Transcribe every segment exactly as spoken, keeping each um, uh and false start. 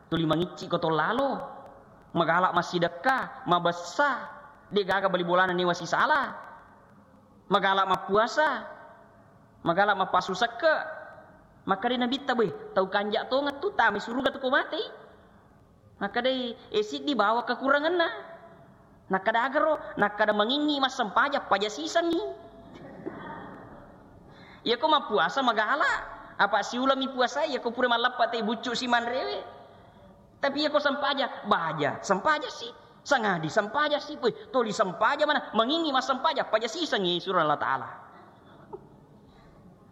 Tuli mangicci ko to lalo. Magala massidekka, mabessa. De gaga bali bolana newa sisala. Magala mappuasa. Magala mappasu sekke. Makkeda Nabitta, "Boy, tau kanja tongeng tu, tama suruga tu ko mate." Makkedai, "Eh, siddi bawa kekuranganna." Nakkeda, "Agaro?" Nakkeda, "Mangingi massempajang, paja sisengi." Iyako mappuasa magala, apa siulami puasa, iyako pura malleppa te buccu si manrewe. Tapi iyako sempajang, baja, sempajang si, sangadi sempajang si, weh, toli sempajang mana, mangingi massempajang, paja sisengi surah Allah Ta'ala.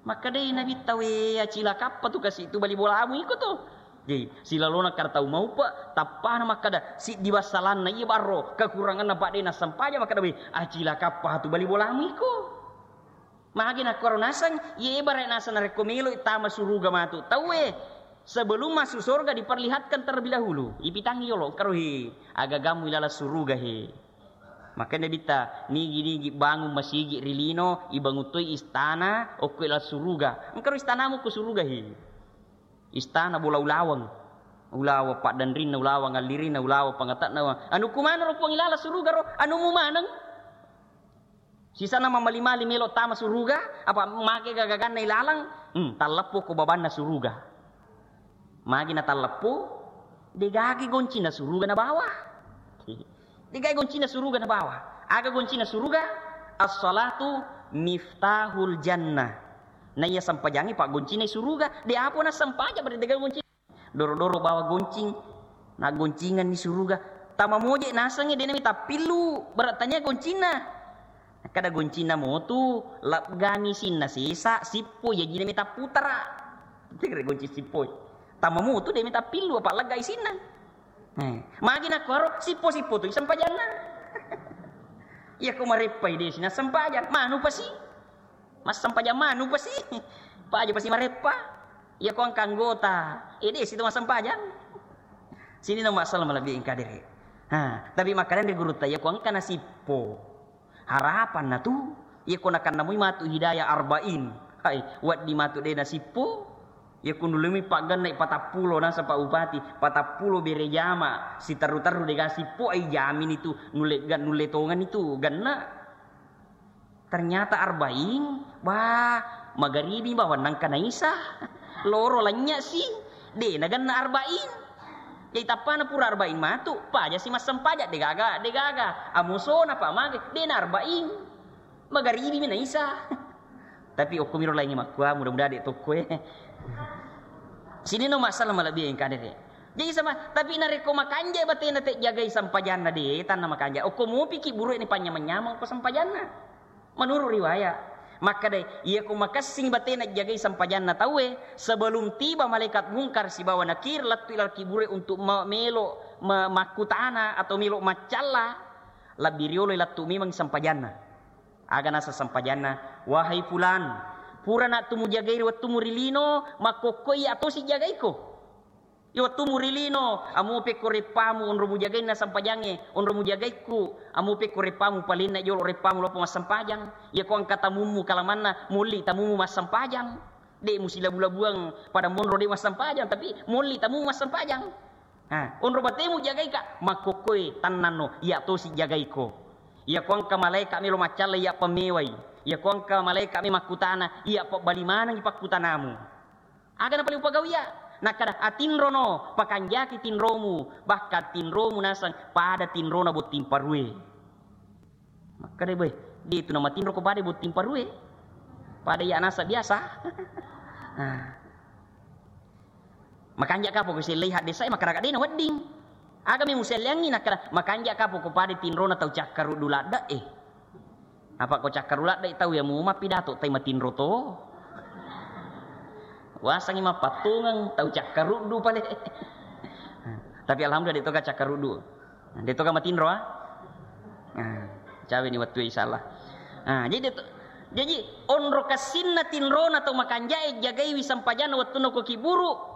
Makkedai Nabitta, "We, acilakappa tu kasi tu bali bolamu iko tu." Jadi, silalona kada tau maupa, tappana makkeda, "Siddi bassalanna iya barro, kekuranganna padde nassempajang," makkeda, "We, acilakappa tu bali bolamu iko." Magi nakkoro naseng, iye bare naseng narekko melo tama suruga matu. Tauwe, sebelum masuk surga diperlihatkan terlebih dahulu. Ipitangi yolo, engkaro he, agagamu ilala suruga he. Makanya Nabitta, nigi-nigi bangun masigi ri lino, ibangun toi istana, okko ila suruga. Engkaro istanamu ko suruga he. Istana bola ulaweng. Ulaweng paddanrinna, ulaweng allirina, ulaweng pangatakna. Anu kumana ro Puang ilala suruga ro, anumu maneng. Sisana mamali-mali melo tama suruga, apa make gagaganna ilalang, hmm, talleppo ko babanna suruga. Magi na talleppu, degagi goncina suruga na bawah. Degagi goncina suruga na bawah. Aga goncina suruga? As-salatu miftahul jannah. Naiya sempajangi pak goncina suruga. De apo na sempaja pada degagi goncina. Doro-doro bawa goncing. Na goncingan ni suruga. Tama moje nasengi dena mi tappillu. Berat tanya goncina. Kada goncinna motu, laggami sinna sesa, sippo, iya jina mita putara. Tegere gonci sippoi. Tama motu de mita pillu, apa laggai sinna. Eh, magi nakkuaro, sippo-sippo tu sempajanna. Iya ko mareppai de sina sempajang, manu pasi. Mas sempajang manu pasi. Paja pasi mareppa. Iya ko angka anggota, eh, de situ mas sempajang. Sini nomor salam lebih engka dere. Ha, tapi makanan di guru taya ko angka nasippo. Harapanna tu, iya ko nakannamui matu hidayah arba'in. Hai, wedding matu de nasippo. Iya ko nulimi pagganna patappulo naseng Pak Bupati, patappulo bere jama, siterru-terru dega sippo ai jamini tu, nulle ga-, nulle tongeng itu ganna. Ternyata arba'in, bah, magaribi bawang nangka naisa. Loro lanya si, de naganna arba'in. Jadi tappana pura arba'in matu, paja si massempajang, degaga, degaga. Amusona pak mage, de na arba'in. Magaribi mi naisa. Tapi okko miro laingi makkua, mudah-mudahan dek tokko e. Sini no masalah malebbi engka dere. Jadi sama, tapi narekko makanja batena te jagai sempajanna de, tanna makanja. Okko mupiki buruk ini panyamang-nyamang ko sempajanna. Menurut riwayat, makkadai, iya ko makessing batena jagai sempajanna tauwe, sebelum tiba malaikat Mungkar sibawa Nakir lettu ila kubure untuk ma-, melo ma-, makkutana atau melo maccalla, lebbi riolo lettu memang sempajanna. Aga nasa sempajanna, "Wahai fulan, pura nak tu mujagai ri wettumu ri lino, makkokko iya tosi jagaiko." Iya wettumu ri lino, amu pekko reppamu onro mujagainna sempajangnge, onro mujagaikku, amu pekko reppamu palinna jolo reppamu lopo massempajang. Iya ko engka tamummu kalamanna, molli tamummu massempajang. De musilabu-labuang pada monro de massempajang, tapi molli tamummu massempajang. Ha, onro batemu jagaika, makkokkoe tannanno, iya tosi jagaiko. Iya ko engka malaika melo maccalla, iya pemmewai. Iya ko engka malaika me makkutana, iya pebbali manengi pakkutanamu. Aga na paling upagawi iya? Nakkada, "Atinrono, pakanjaki tinromu, bahkan tinromu naseng pada tinrona botting parue." Makkada, "Boy, de tu namatinro ko pada botting parue. Pada iya nasa biasa." Nah. Makanja kapo ko sellei haddesa e, makkada de na wedding. Aga mi muselleangngi nakkada, "Makanja kapo ko pada tinrona tau cakkaruddu ladde e." Apa ko cakkaru ladde tau ya mu mappidato tai matinro to. Wasangi mappattungeng tau cakkaruddu pale. Tapi alhamdulillah de toga cakkaruddu. De toga matinro ah. Nah, cawe ni wettu insyaallah. Nah, jadi de to, jadi onro kassinna tinrona tau makanjae jagaiwi sempajanna wettunna ko kiburu.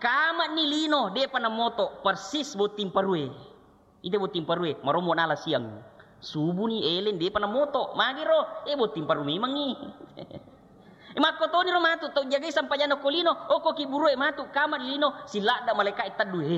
Kama ni lino depa namoto persis botting parue. Ite botting parue, marommo nala siang. Subuni eleng depa namoto. Magiro, eh, botting paru memangngi. Eh, makkotoniro matu tau jagai sampajanna ko lino, okko kiburue matu kama di lino, siladda malaika e teddu, he,